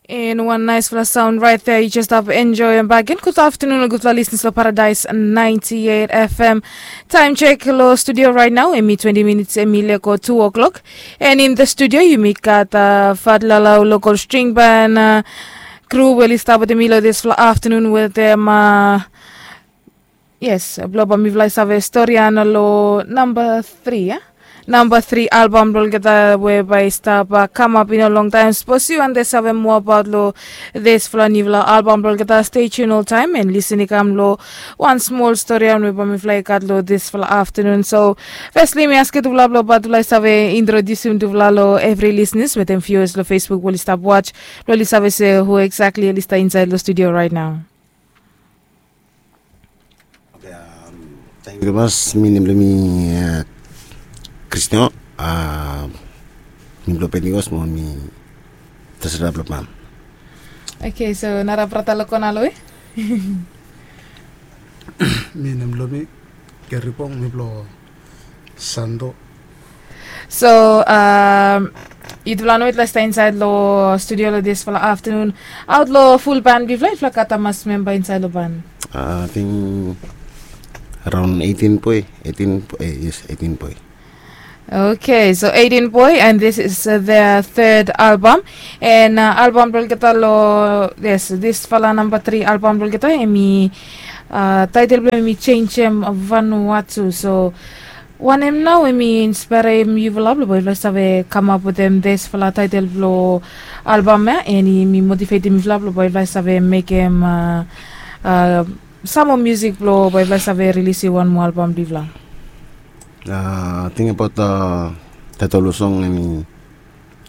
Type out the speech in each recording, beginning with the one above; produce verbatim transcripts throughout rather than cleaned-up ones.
And one nice fala sound right there. You just have enjoy and back in. Good afternoon, good fala listeners for Paradise ninety-eight F M. Time check lo studio right now. Emi twenty minutes, emi leko two o'clock. And in the studio, you meet kat uh, Fat Lala local string band uh, crew. Well, start with the middle of this fla- afternoon with them. Uh, Yes, blong bae mifala i save stori ia lo namba tri ia. Namba tri albam blong olgeta we bae i stap kamap i no longtaem. Sapos yu wante save moa abaot lo disfala niufala albam blong olgeta, stay tune oltaem and lisin i kam lo wan smol stori ia we bae mifala i gat lo disfala aftanun. So fesli mi askem tufala blong bae tufala i save introdiusim tufala lo evri lisenas wetem viuas lo Facebook we oli stap was, blong oli save se hu eksakli oli stap insaed lo studio raet nao. Tangkiu tumas, mi nem blong mi Kristian, mi blong Pentikos mo mi tasera blong pam. Oke, so nara brata lo kona lo we? Mi nem blong mi Keripong, mi blong Santo. So um, yutufala no yutufala i stap insaed lo studio lo disfala aftanun. Aot lo ful ban blong yufala, yufala gat hamas memba insaed lo ban? Ating araon eighteen boe, eighteen boe, yes, eighteen boe. Okay, so eighteen boe and this is uh, their third album. And uh, album blong olgeta lo, yes, disfala namba tri album blong olgeta, emi uh, taetel blong emi Changem Vanuatu. So wanem nao emi inspairim yufala blong bae yufala save kamap wetem disfala taetel blong albam ia, and emi motivetim yufala blong bae yufala save mekem uh, uh, sam moa musik blong bae yufala save rilisim wan moa albam blong yufala. Ting abaot taetol blong song emi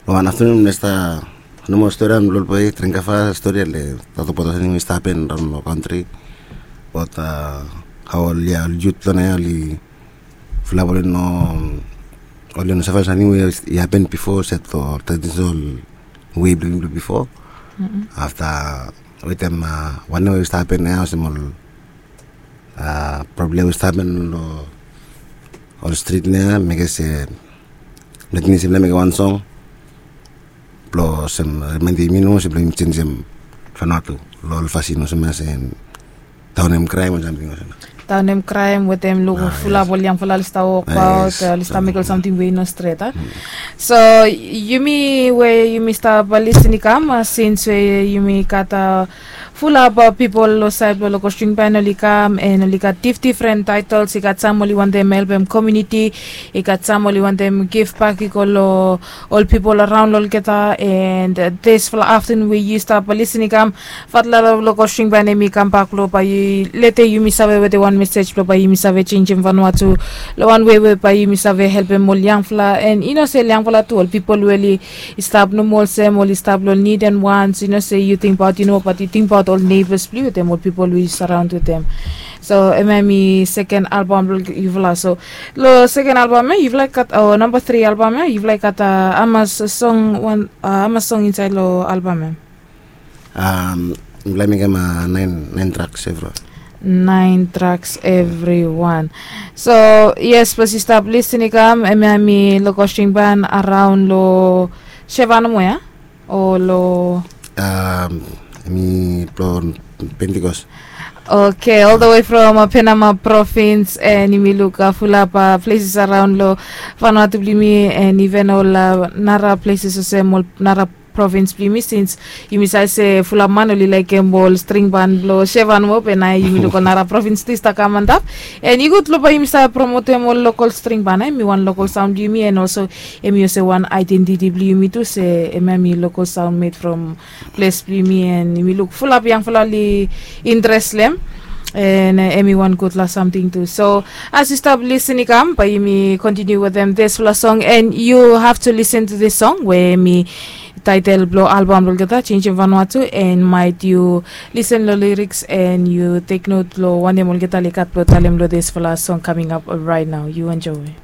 Lo wan aftanun mi stap nomo stori ia mi lolboi dring kafa stori ia le toktok abaot olsem nting we i stap hapen raon lo kantri. Abaot hao ol ya ol yut long naoia oli fulap oli no oli no save ol samting we i hapen bifo olsem ol tradisonal wei blong yumi blong bifo. Afta wetem wanem we i stap hapen naoia olsem ol problem we i stap hapen long ol strit naoia mekem se Meting olsem blong mekem wan song blong olsem rimaindim yumi nomo olsem blong yumi jenisim Vanuatu long ol fasin olsem ya se daonem kraem o samting olsem. Daonem kraem wetem luk fulap ol yangfala oli stap wokbaot, oli stap mekem ol samting we i no stret a. So yumi we yumi stap lisin i kam, sins we yumi gat fulap pipol long saed blong Lokos String Band oli kam, and oli gat difdifren taetels. I gat sam oli wantem helpem komuniti, i gat sam oli wantem givbak i go long ol pipol araon long olgeta. And disfala aftanun we yu stap lisin i kam, fatla long Lokos String Band hemi kambak long bae i letem yumi save wetem wan mesej blong bae yumi save jenisim Vanuatu long wan wei we bae yumi save helpem ol yangfala, and i no se ol yangfala tu, ol pipol we oli i stap nomo olsem oli stap long nid and wants. I no se yu tingbaot yu nomo, bat yu tingbaot ol neibas blong yu wetem ol pipol we yu saraon wetem. So hemia hemi seken albam blong yufala. So long seken albam ya yufala i gat, o namba tri albam ya yufala i gat hamas song, wan hamas song insaed long albam ya? Mipela i mekem naen, naen traks evriwan. Naen traks evriwan. So yes, sapos yu stap lisin i kam, hemia hemi Lokos String Band araon long Sevan nomo ya? O long, hemi blong Pentikos. Okay, all the way from Penama Province, and yumi luk fulap places araon long Vanuatu blong yumi, and even ol nara places olsem ol nara provins blong yumi, sins yumi save se fulap man oli laekem ol string ban blong Sevan moa, be nao yumi luk ol nara provins tu i stap kam antap. And i gud long bae yumi save promotem ol lokol string ban, hemi wan lokol saon blong yumi, and olso hemi olsem wan aedentiti blong yumi tu se hemia hemi lokol saon med from ples blong yumi, and yumi luk fulap yangfala oli intres long hem. And hemi wan gudfala samting tu. So as yu stap lisin i kam, bae yumi kontiniu wetem disfala song, and yu have to listen to this song we hemi taetel blong albam blong olgeta, Changing Vanuatu, and maet yu lisen long liriks and yu tek not long wanem olgeta oli gat blong talem long disfala song kaming ap right nao. Yu enjoe.